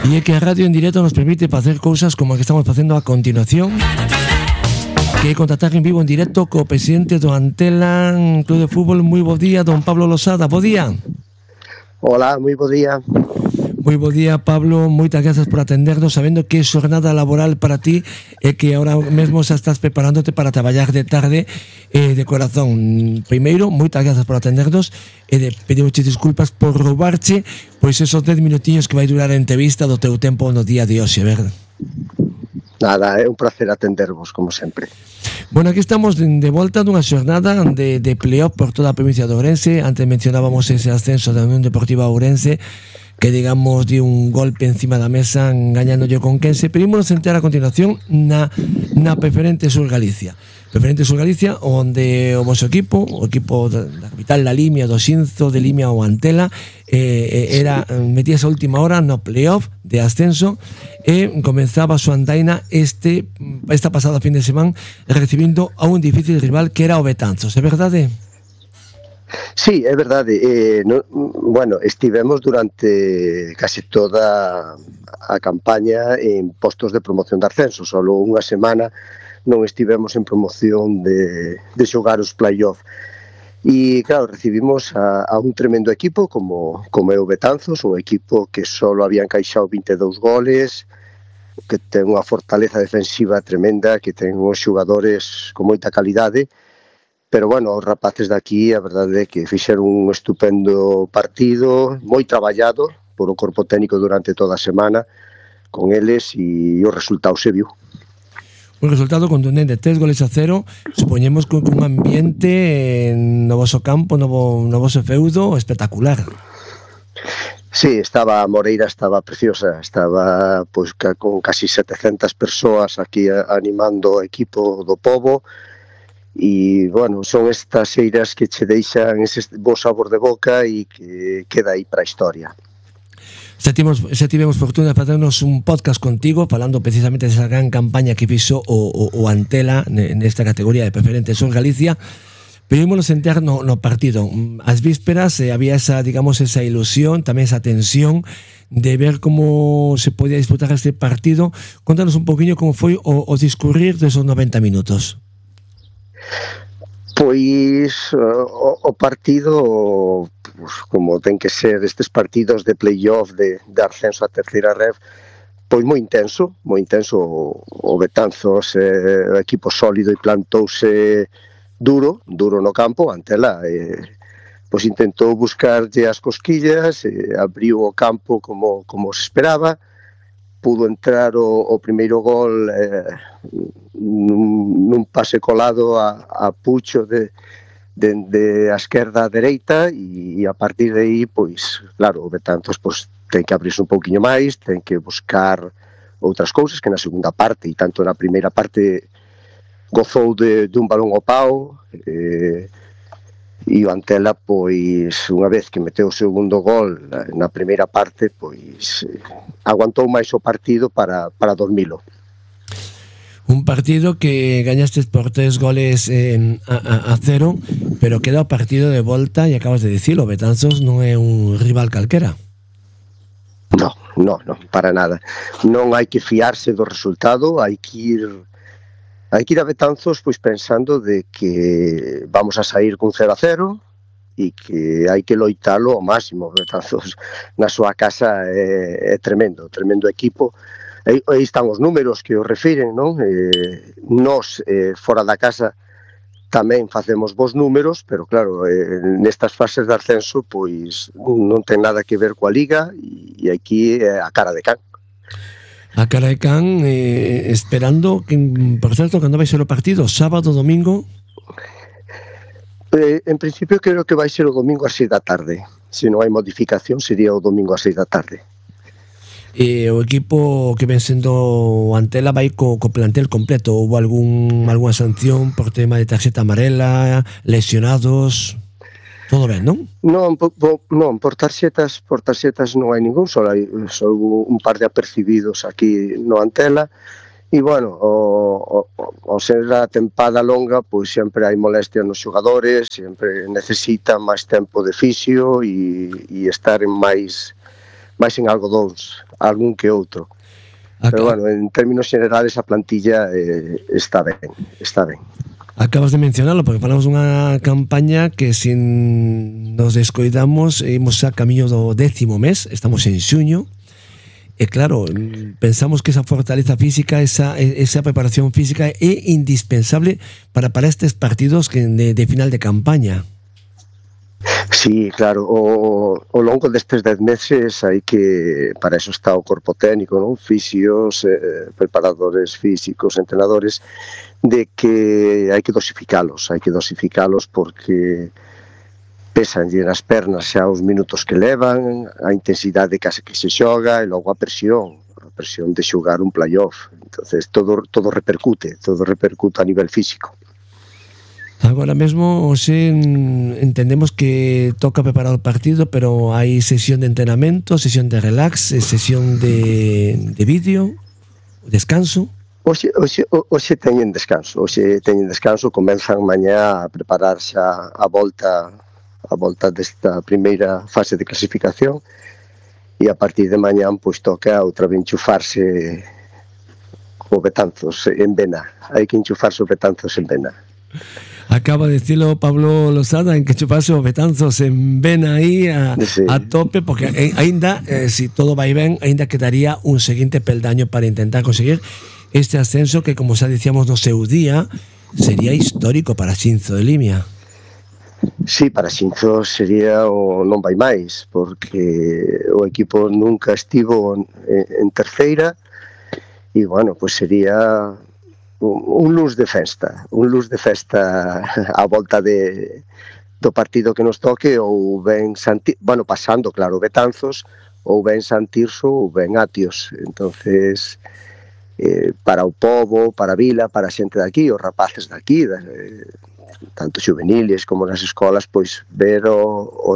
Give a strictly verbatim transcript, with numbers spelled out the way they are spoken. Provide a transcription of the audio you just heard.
E é que a radio en directo nos permite facer cousas como a que estamos facendo a continuación, que é contactar en vivo en directo co presidente do Antela Club de Fútbol. Moi bo día, don Pablo Losada, bo día. Hola, moi bo día. Moi bo día, Pablo, moitas grazas por atendernos, sabendo que é xornada laboral para ti e que ahora mesmo xa estás preparándote para traballar de tarde. Eh, de corazón, primeiro, moitas grazas por atendernos e de pedimos disculpas por roubarche pois esos dez minutiños que vai durar a entrevista do teu tempo no día de hoxe, verdade? Nada, é un placer atendervos, como sempre. Bueno, aquí estamos de, de volta dunha xornada de, de playoff por toda a provincia de Ourense. Antes mencionábamos ese ascenso da Unión Deportiva Ourense, que digamos di un golpe encima da mesa engañándolle con Conquense. Pero ímonos a entrar a continuación na, na Preferente Sur Galicia. Preferente Sur Galicia, onde o vosso equipo, o equipo da capital da Limia, do Xinzo de Limia ou Antela, eh, era metíase a última hora no playoff de ascenso e comenzaba a súa andaina este, esta pasada fin de semana recibindo a un difícil rival que era o Betanzos, é verdade? Sí, é verdade. Eh, no, bueno, estivemos durante casi toda a campaña en postos de promoción de ascenso. Solo unha semana non estivemos en promoción de, de xogar os play-off. E, claro, recibimos a, a un tremendo equipo como, como é o Betanzos, un equipo que solo había encaixado vinte e dous goles, que ten unha fortaleza defensiva tremenda, que ten uns xogadores con moita calidade. Pero, bueno, os rapaces daqui, a verdade é que fixeron un estupendo partido, moi traballado por o corpo técnico durante toda a semana con eles, e o resultado se viu. Un resultado contundente, tres goles a cero, supoñemos con un ambiente no voso campo, no, no voso feudo espectacular. Sí, estaba a Moreira, estaba preciosa, estaba pois con casi setecentas persoas aquí animando o equipo do Pobo. E, bueno, son estas eiras que che deixan ese bo sabor de boca e que queda aí para a historia. Xa tivemos, xa tivemos fortuna de facernos un podcast contigo falando precisamente desa gran campaña que fixo o, o, o Antela nesta categoría de Preferente Sur Galicia. Pero ímonos entrar no, no partido. As vísperas eh, había esa, digamos, esa ilusión, tamén esa tensión de ver como se podía disputar este partido. Contanos un poquinho como foi o, o discurrir desos noventa minutos. Pois o, o partido, pues, como ten que ser estes partidos de playoff de, de ascenso a terceira ref, pois moi intenso, moi intenso. O, o Betanzos é eh, equipo sólido e plantouse duro, duro no campo. Antela eh, pois intentou buscarlle as cosquillas, eh, abriu o campo como, como se esperaba. Pudo entrar o, o primeiro gol eh, nun, nun pase colado a, a Pucho de, de, de a esquerda a dereita, e, e a partir de aí, pois, claro, o Betanzos pois, ten que abrirse un pouquiño máis, ten que buscar outras cousas que na segunda parte, e tanto na primeira parte gozou de, de un balón ao pau, eh, e o Antela, pois, unha vez que meteu o segundo gol na primeira parte, pois aguantou máis o partido para, para dormilo. Un partido que gañastes por tres goles eh, a, a, a cero, pero queda o partido de volta, e acabas de dicilo, o Betanzos non é un rival calquera. No, no, no, para nada. Non hai que fiarse do resultado, hai que ir hai que ir a Betanzos pois pensando de que vamos a sair cun cero a cero e que hai que loitalo ao máximo. Betanzos na súa casa é, é tremendo, tremendo equipo. Aí, aí están os números que os refiren, non? Eh, nos, eh, fora da casa, tamén facemos bons números, pero claro, eh, nestas fases de ascenso, pois non ten nada que ver coa Liga, e aquí é a cara de can. A cara de can, eh, esperando que, por certo, cando vai ser o partido, sábado, domingo? Eh, en principio creo que vai ser o domingo a seis da tarde. Se non hai modificación, sería o domingo a seis da tarde. E o equipo que ven sendo o Antela vai co, co plantel completo? Houve algún, alguna sanción por tema de tarxeta amarela, lesionados? Todo ben, non? Non, po, po, non, por tarxetas, por tarxetas non hai ningún, só hai só un par de apercibidos aquí no Antela. E, bueno, o, o, o ser a tempada longa, pois sempre hai molestia nos xogadores, sempre necesitan máis tempo de fisio e, e estar en máis baixen algodóns, algún que outro. Acá, pero bueno, en términos generales a plantilla eh, está ben, está ben. Acabas de mencionarlo, porque falamos dunha campaña que sin nos descoidamos imos a camiño do décimo mes, estamos en xuño, e claro, pensamos que esa fortaleza física, esa, esa preparación física é indispensable para, para estes partidos que de, de final de campaña. Sí, claro, o, o longo destes dez meses hai que, para eso está o corpo técnico, non? Fisios, eh, preparadores físicos, entrenadores, de que hai que dosificalos, hai que dosificalos porque pésanlle nas pernas xa os minutos que levan, a intensidade case que se xoga e logo a presión, a presión de xogar un playoff. Entonces todo, todo repercute, todo repercute a nivel físico. Agora mesmo, hoxe entendemos que toca preparar o partido, pero hai sesión de entrenamento, sesión de relax, sesión de, de vídeo, descanso. Hoxe, hoxe, hoxe teñen descanso, hoxe teñen descanso, comenzan mañá a preparar xa a volta a volta desta primeira fase de clasificación e a partir de mañán pois toca outra vez enchufarse o Betanzos en Vena, hai que enchufarse o Betanzos en Vena. Acaba de decirlo Pablo Losada, en que chuparse o Betanzos en Vena aí a, sí. a tope, porque ainda, eh, si todo vai ben, ainda quedaría un seguinte peldaño para intentar conseguir este ascenso que, como xa dicíamos no seu día, sería histórico para Xinzo de Limia. Sí, para Xinzo sería o non vai máis, porque o equipo nunca estivo en, en terceira e, bueno, pues sería un, un luz de festa, un luz de festa a volta de, do partido que nos toque, ou ben Santi, bueno, pasando, claro, Betanzos, ou ben Santirso, ou ben Atios. Entonces, eh, para o pobo, para a vila, para a xente daqui, os rapaces daqui, eh, tanto juveniles como nas escolas, pois ver o, o